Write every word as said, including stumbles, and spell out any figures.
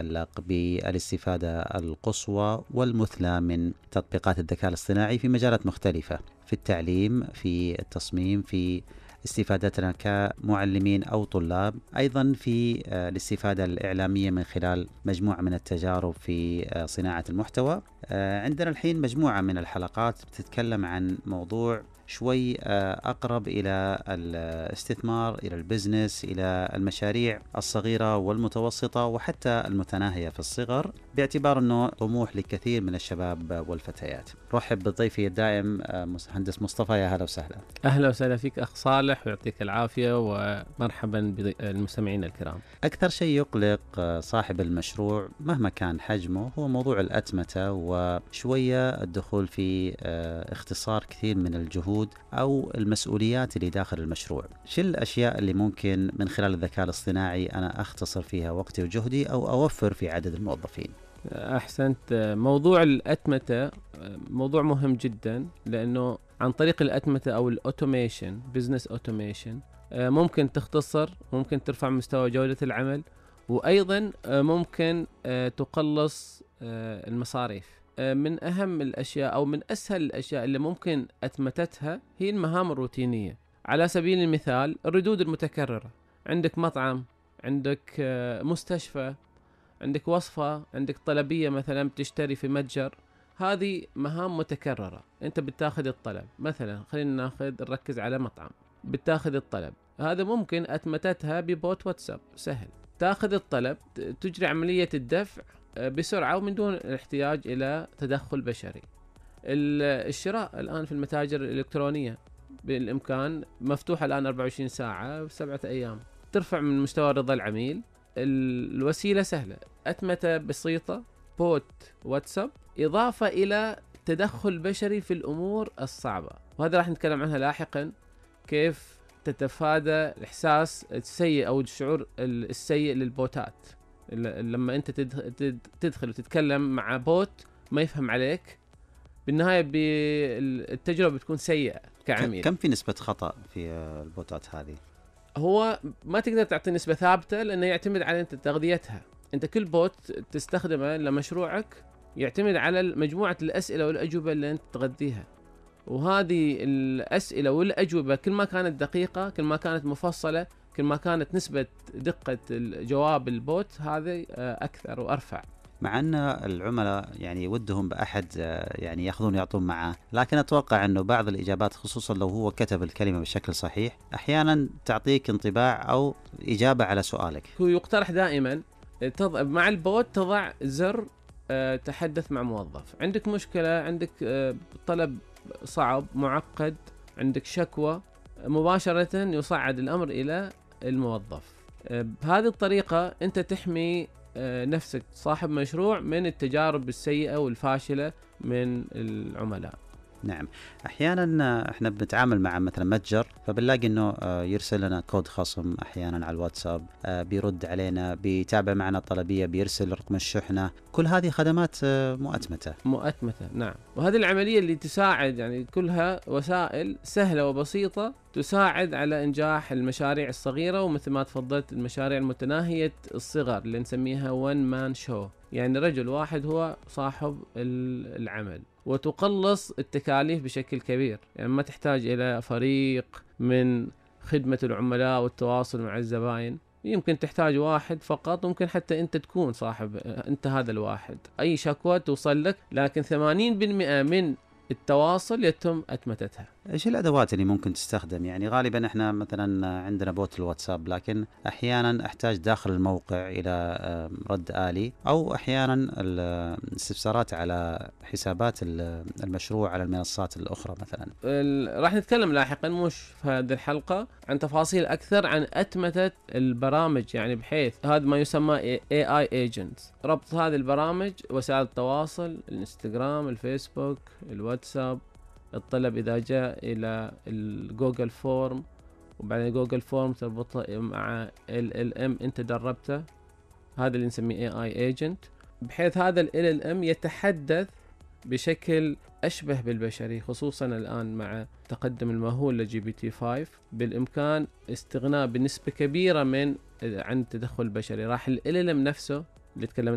يتعلق بالاستفادة القصوى والمثلى من تطبيقات الذكاء الاصطناعي في مجالات مختلفة، في التعليم، في التصميم، في استفادتنا كمعلمين أو طلاب، أيضا في الاستفادة الإعلامية من خلال مجموعة من التجارب في صناعة المحتوى. عندنا الحين مجموعة من الحلقات بتتكلم عن موضوع شوي أقرب إلى الاستثمار، إلى البزنس، إلى المشاريع الصغيرة والمتوسطة وحتى المتناهية في الصغر، باعتبار أنه طموح لكثير من الشباب والفتيات. رحب بضيفي الدائم مهندس مصطفى، يا هلا وسهلا. أهلا وسهلا فيك أخ صالح، ويعطيك العافية، ومرحبا بالمستمعين الكرام. أكثر شيء يقلق صاحب المشروع مهما كان حجمه هو موضوع الأتمتة، وشوية الدخول في اختصار كثير من الجهود أو المسؤوليات اللي داخل المشروع. شو الأشياء اللي ممكن من خلال الذكاء الاصطناعي أنا أختصر فيها وقتي وجهدي أو أوفر في عدد الموظفين؟ أحسنت. موضوع الأتمتة موضوع مهم جدا، لأنه عن طريق الأتمتة أو الأوتوميشن، بزنس أوتوميشن، ممكن تختصر، ممكن ترفع مستوى جودة العمل، وأيضا ممكن تقلص المصاريف. من أهم الأشياء أو من أسهل الأشياء اللي ممكن أتمتتها هي المهام الروتينية. على سبيل المثال الردود المتكررة، عندك مطعم، عندك مستشفى، عندك وصفة، عندك طلبية مثلا بتشتري في متجر، هذه مهام متكررة. أنت بتاخذ الطلب، مثلا خلينا ناخذ نركز على مطعم، بتاخذ الطلب هذا ممكن أتمتتها ببوت واتساب سهل، تاخذ الطلب، تجري عملية الدفع بسرعة ومن دون الاحتياج إلى تدخل بشري. الشراء الآن في المتاجر الإلكترونية بالإمكان مفتوحة الآن أربعة وعشرين ساعة بسبعة أيام، ترفع من مستوى رضا العميل. الوسيلة سهلة، أتمتة بسيطة، بوت واتساب، إضافة إلى تدخل بشري في الأمور الصعبة، وهذا راح نتكلم عنها لاحقا، كيف تتفادى الإحساس السيء أو الشعور السيء للبوتات. لما أنت تدخل وتتكلم مع بوت ما يفهم عليك، بالنهاية التجربة بتكون سيئة كعميل. كم في نسبة خطأ في البوتات هذه؟ هو ما تقدر تعطي نسبة ثابتة، لأنه يعتمد على أنت تغذيتها. أنت كل بوت تستخدمه لمشروعك يعتمد على مجموعة الأسئلة والأجوبة اللي أنت تغذيها، وهذه الأسئلة والأجوبة كل ما كانت دقيقة، كل ما كانت مفصلة، كل ما كانت نسبة دقة الجواب البوت هذه أكثر وأرفع. مع أن العملاء يعني ودهم بأحد يعني يأخذون يعطون معه، لكن أتوقع أنه بعض الإجابات خصوصا لو هو كتب الكلمة بشكل صحيح أحيانا تعطيك انطباع أو إجابة على سؤالك. هو يقترح دائما تضع مع البوت تضع زر تحدث مع موظف، عندك مشكلة، عندك طلب صعب معقد، عندك شكوى، مباشرة يصعد الأمر إلى الموظف. بهذه الطريقة أنت تحمي نفسك صاحب مشروع من التجارب السيئة والفاشلة من العملاء. نعم، أحيانا إحنا بنتعامل مع مثلا متجر، فبنلاقي إنه يرسل لنا كود خصم أحيانا على الواتساب، بيرد علينا، بيتابع معنا الطلبية، بيرسل رقم الشحنة، كل هذه خدمات مؤتمتة. مؤتمتة نعم، وهذه العملية اللي تساعد، يعني كلها وسائل سهلة وبسيطة تساعد على إنجاح المشاريع الصغيرة، ومثل ما تفضلت المشاريع المتناهية الصغر اللي نسميها one man show، يعني رجل واحد هو صاحب العمل، وتقلص التكاليف بشكل كبير. يعني ما تحتاج إلى فريق من خدمة العملاء والتواصل مع الزبائن، يمكن تحتاج واحد فقط، ممكن حتى أنت تكون صاحب أنت هذا الواحد، أي شكوى توصل لك، لكن ثمانين بالمئة من التواصل يتم أتمتتها. إيش الأدوات اللي ممكن تستخدم؟ يعني غالبا إحنا مثلا عندنا بوت الواتساب، لكن أحيانا أحتاج داخل الموقع إلى رد آلي، أو أحيانا الاستفسارات على حسابات المشروع على المنصات الأخرى مثلا. راح نتكلم لاحقا مش في هذه الحلقة عن تفاصيل أكثر عن أتمتة البرامج، يعني بحيث هذا ما يسمى إيه آي agents، ربط هذه البرامج وسائل التواصل، الانستغرام، الفيسبوك، الواتساب، الطلب إذا جاء إلى الجوجل فورم، وبعدين جوجل فورم تربطه مع ال إل إم أنت دربته، هذا اللي نسميه إيه آي agent، بحيث هذا ال إل إم يتحدث بشكل أشبه بالبشري، خصوصا الآن مع تقدم المهول لجي بي تي خمسة بالإمكان استغناء بنسبة كبيرة من عن التدخل البشري. راح ال إل إم نفسه اللي تكلمنا